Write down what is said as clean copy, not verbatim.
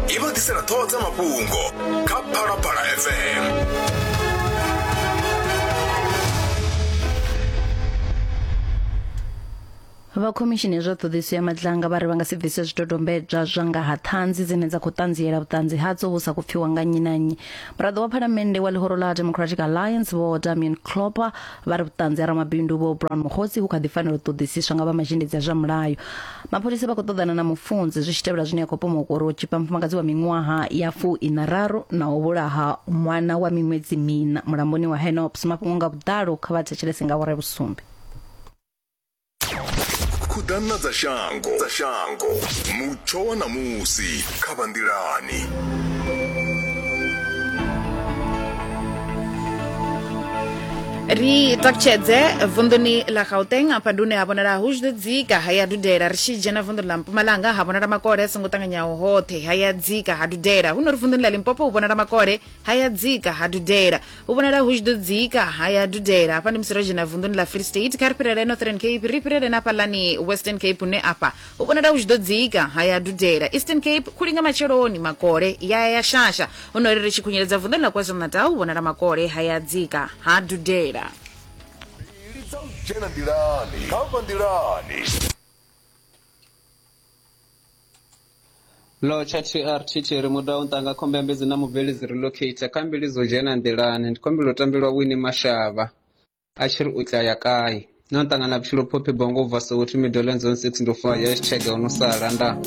I vha ḓisela ṱhoho dza mafhungo kha Phalaphala FM. Vha khomishini ya zwa ṱhoḓisiso ya Madlanga vha ri vha nga si bvise zwidodombedzwa zwa nga ha ṱhanzi dzine dza khou ṱanziela vhuṱanzi hadzo hu sa khou pfiwa nga nnyi na nnyi. Muraḓo wa phalamennde wa ḽihoro ḽa Democratic Alliance Vho Damian Klopper vha ri vhuṱanzi ha ramabindu Vho Brown Mogotsi hu kha ḓi fanela u ṱoḓisiswa nga vha mazhendedzi a zwa mulayo. Mapholisa vha khou ṱoḓana na mufunzi zwi tshi tevhela zwine ya khou pomokwa uri o tshipa mufumakadzi wa miṅwaha ya fu-iṋa-raru na u vhulaha ṅwana wa miṅwedzi miṋa mulamboni wa Henops. Mafhungo nga vhuḓalo kha vha thetshelese nga awara ya vhusumbe. Khuḓana dza shango dza shango mutsho wa ṋamusi kha vha nḓilani. Ri takutshedze vunḓuni ḽa Gauteng afha ndi hune ha vhonala hu tshi ḓo dzika ha ya dudela. Ri tshi dzhena vunḓuni ḽa Mpumalanga ha vhonala makole a songo ṱanganyaho hoṱhe ha ya dzika ha dudela. Hu no ri vunḓuni ḽa Limpopo hu vhonala makole ha ya dzika ha dudela. Hu vhonala hu tshi ḓo dzika ha ya dudela. Hafha ndi musi ro dzhena vunḓuni ḽa Free State. Kha ri fhirele Northern Cape, ri fhirele na hafhaḽani Western Cape hune afha hu vhonala hu tshi ḓo dzika ha ya dudela. Eastern Cape khuli nga matsheloni makole ya ya ya shasha. Hu no ri ri tshi khunyeledza vunḓuni ḽa KwaZulu-Natal hu vhonala makole ha ya dzika ha dudela. Mbili dza u dzhena nḓilani kha vha nḓilani. Lotsha TRTT ri muda u ntanga khombe ambedzi na mubveledzi Relocator kha mbili dzo dzhena nḓilani ndi khombela u tambelwa Winnie Mashaba a tshi ri u tla ya kai no ṱangana vhutshilo Phophi Bongo u bva Soweto Meadowlands Zone 6 ndo fa hashtag ono sala nda.